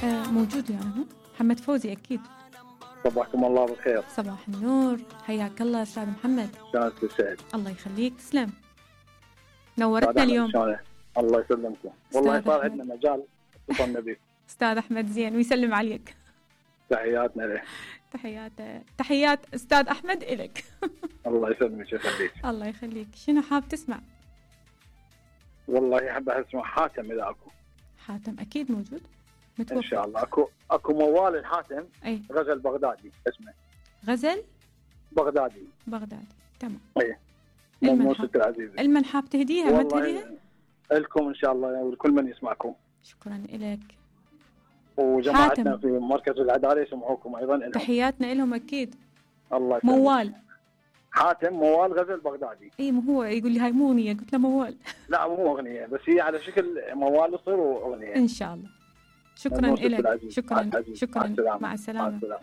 موجود يعني. محمد فوزي أكيد. صباحكم الله بالخير. صباح النور، حياك الله أستاذ محمد. كانت تسعد. الله يخليك، تسلم، نورتنا اليوم. الله يسلمكم، والله صار عندنا مجال اتصلنا بك. أستاذ أحمد زين ويسلم عليك. تحياتنا له. تحيات أستاذ أحمد إلك. الله يسلمك ويخليك. الله يخليك. شنو حاب تسمع؟ والله حاب اسمع حاتم إذا أكو. حاتم أكيد موجود. إن شاء الله. أكو موال الحاتم. أي. غزل بغدادي اسمه. غزل بغدادي. تمام. أي. موسيقى العزيزة. المن حاب تهديها؟ ما تهديها؟ لكم إن شاء الله ولكل من يسمعكم. شكرا لك. وجماعتنا في مركز العدالة يسمعوكم أيضا. تحياتنا لهم أكيد. الله يسلمك. موال. حاتم موال غزل بغدادي. اي ما هو يقول لي هاي مو اغنيه، قلت له موال. لا مو اغنيه، بس هي على شكل موال يصير اغنيه ان شاء الله. شكرا لك. شكرا. مع السلامه.